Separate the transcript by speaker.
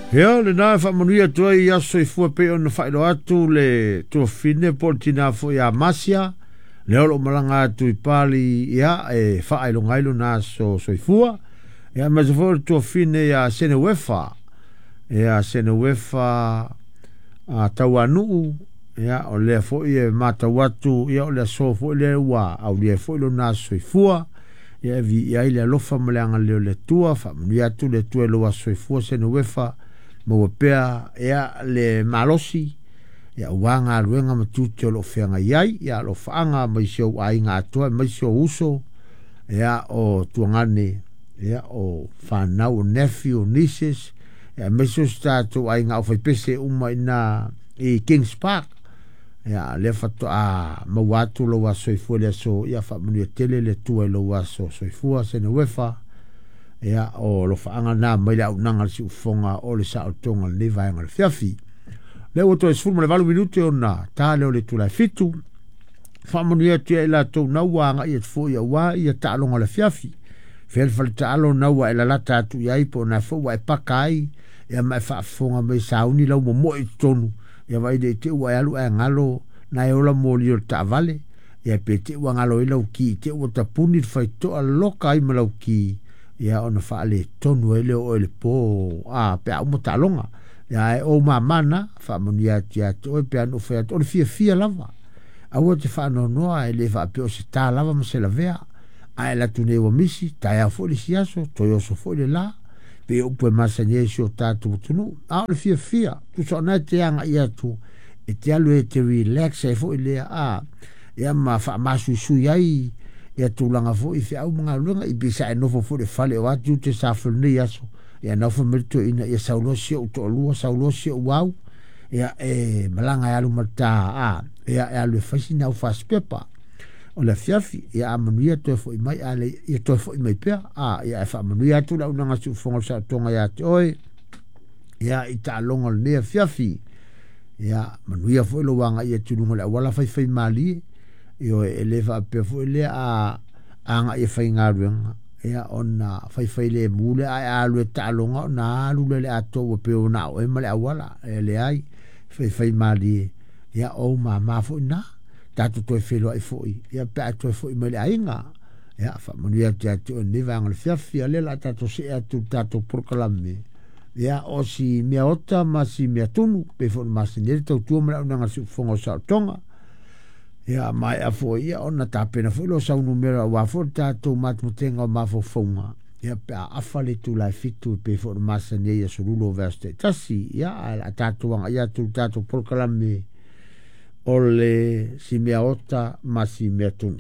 Speaker 1: Ia, lena e faamanuia atu ai i aso soifua pei ona faailoa atu le tuafafine po o le tina foi ia Masia, lea o lo o malaga atu i Pali, ia, e faailoga ai lona aso soifua. Ia, aemaise foi o le tuafafine ia Seneuefa, ia Seneuefa a Tauanuu, ia, o lea foi e matau atu, ia, o le aso foi lea ua aulia ai foi lona aso soifua. Ia, e viia ai le alofa ma le agalelei o le Atua, faamanuia atu le Atua i lou aso soifua Seneuefa, maua pea ia le malosi ia aua galuega ma tiute o lo o feagai ai, ia alofaaga mai si ou aiga atoa aemaise ou uso, ia o tuagane, ia o fanau, o nephew, o nieces, ia aemaise o si tatou aiga aufaipese uma i ina i Kings Park. Ia lea faatoa maua atu lou aso soifua i le aso, ia faamanuia tele le Atua i lou aso soifua Seneuefa. Ia, o alofaaga na mai le auaunaga a le siufofoga o le saolotoga o lenei vaega o le afiafi. Lea ua toe 18 minute ona ta lea o le itula e 7. Faamanuia atu ia i latou na ua agai atu foi aua ia taaloga o le afiafi. Fea le fale taalo na ua e lalata atu i ai po o na foi ua e paka ai, ia ma e faafofoga mai sauni lau momoe i totonu, ia vaai nei te i ua e alu ae galo na e ola moli o le taavale, ia pe te i ua galo ai lau ki, te i ua tapuni le faitotoa loka ai ma lau ki, ia ona faaletonu ai lea o oe i le po a pe a uma taaloga. Ia ae o ou mama na, faamanuia atu ia te oe pe a na ou fai atu, o le fiafia lava. Aua e te faanoanoa, e le faapea o se ta lava ma se lavea. A e alu atu nei ua misi, taeao foi le isi aso, toe oso foi le la. Pei o upu e masani ai i si o tatou atunuu. A o le fiafia, tusa o na e te agai atu, e te alu e te relax ai foi lea, a, ia ma faamasuisui ai ia tulaga foi i feau ma galuega, i pei sa e nofo foi i le fale o a tiute sa fai i lenei aso, ia nau fai mai le toeaina, ia sau loa si ou toalua, sau loa si ou au, ia e malaga e alu ma le ta, a, ia e alu e fai sina au fasipepa o le afiafi, ia a manuia toe foi mai, a le, ia toe foi mai pea, a, ia e faamanuia atu le auaunaga a Siufofoga o le Saolotoga ia te oe, ia i taaloga o lenei afiafi. Ia manuia foi lou agai atu i luga o le auala faifaimalie. Ioe, e le faapea foi lea a agai e faigaluega, ia ona faifailemu lea, ae a alu e taaloga ona alu lea i le atoa ua pei ua na o oe ma le auala. E leai, faifaimalie, ia o ou mama foi na. Tatou toe feiloai foi, ia pe a toe foi mai i le aiga. Ia, faamanuia atu ia te oe i lenei vaega o le afiafi. A o lea o le a tatou see atu i le tatou polokalame. Ia, o si mea ota ma si mea tunu, pei foi ona masani ai le tautua ma le auaunaga a le siufofoga o Saolotoga. Ia, maea foi ia ona tapena foi lea o sau numera aua foi le tatou matematega o mafaufauga. Ia, pe a afa le itula e 7 pei foi ona masani ai i aso Lulu o vaiaso taitasi. Ia, ae o le a tatou agai atu i le tatou polokalame o le si mea ota ma si mea tunu.